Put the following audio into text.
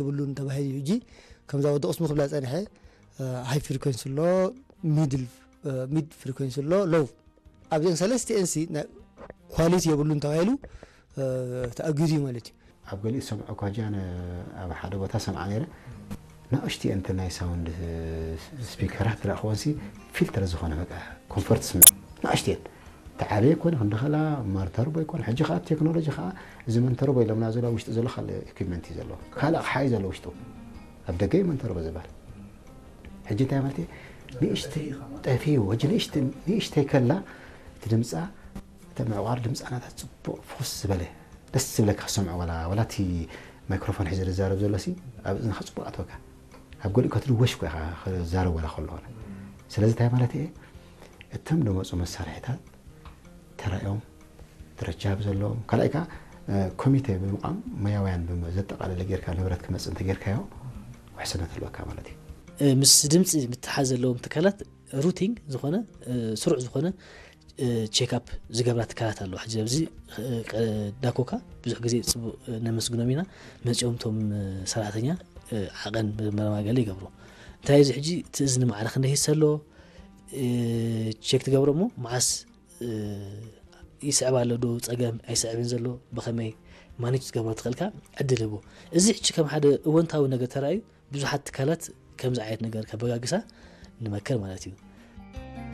የብሉን ተባሂሉ እዩ። ሕጂ ከምዛ ወዲ ቅስሙ ክብላ ጸኒሐ፣ ሃይ ፍሪኮንሲ ኣሎ፣ ሚድል፣ ሚድ ፍሪኮንሲ ኣሎ፣ ሎው። ኣብዘን ሰለስቲኤን ሲ ኳሊቲ የብሉን ተባሂሉ ተኣጊዱ እዩ ማለት እዩ። ኣብ ገሊኡ ዝሰምዖ እኳ ጃን ኣብ ሓደ ቦታ ሰምዓ ነይረ። ንእሽቲ እንቲ ናይ ሳውንድ ስፒከራት ትረእኽወንሲ ፊልተር ዝኾነ በቃ ኮንፈርት ስምዕ ንእሽቲ እየን። ተዓበየ ኮነ ክንደኸላ ማርተርቦ ይኮን። ሕጂ ከዓ ቴክኖሎጂ ከዓ እዚ መንተርቦ ኢሎምና ዘሎ ውሽጢ ዘሎ ካልእ ኢኩፕመንት እዩ ዘለዎ፣ ካልእ ኣቕሓ እዩ ዘሎ ውሽጡ። ኣብ ደገ እዩ መንተርቦ ዝበሃል። ሕጂ እንታይ ማለት እዩ? ንእሽተይ ጠፊኡ። ሕጂ ንእሽተይ ከላ እቲ ድምፃ፣ እቲ ምዕቋር ድምፃ ናታ ፅቡቕ ፍኹስ ዝበለ ደስ ዝብለካ ክሰምዖ፣ ዋላ ዋላ እቲ ማይክሮፎን ሒዘ ዝዛረብ ዘሎ ሲ ኣብ እዝንኻ ፅቡቕ ኣትወካ። ኣብ ገሊኡ ከትድወሽ እኮ ኢኻ ክዛረብ ዋላ ከሎ ኾነ። ስለዚ እንታይ ማለት እየ? እቶም ዝመፁ መሳርሒታት ተራእዮም ደረጃ ብዘለዎም፣ ካልኣይ ከዓ ኮሚቴ ብምቋም ሞያውያን ዘጠቓለለ ጌርካ ንብረት ክመፅእ እንተጌርካዮ ውሕስነት ኣለካ ማለት እዩ። ምስ ድምፂ ምትሓዝ ዘለዎም ትካላት ሩቲን ዝኾነ ስሩዕ ዝኾነ ቼክኣፕ ዝገብራ ትካላት ኣለዋ። ሕዚ ኣብዚ ዳኮካ ብዙሕ ግዜ ፅቡቅ ነመስግኖም ኢና። መፂኦም ቶም ሰራሕተኛ ዓቐን መርማገለ ይገብሩ። እንታይ እዚ ሕጂ እቲ እዝኒ ማዕረ ክንደይ ሂስ ኣሎ ቼክ ትገብሮ እሞ መዓስ ይስዕብ ኣሎ ዶ ፀገም ኣይስዕብን ዘሎ ብኸመይ ማኔጅ ትገብሮ ትኽእልካ ዕድል ህቦ። እዚ ሕጂ ከም ሓደ እወንታዊ ነገር ተራእዩ ብዙሓት ትካላት ከምዚ ዓይነት ነገር ከበጋግሳ ንመክር ማለት እዩ።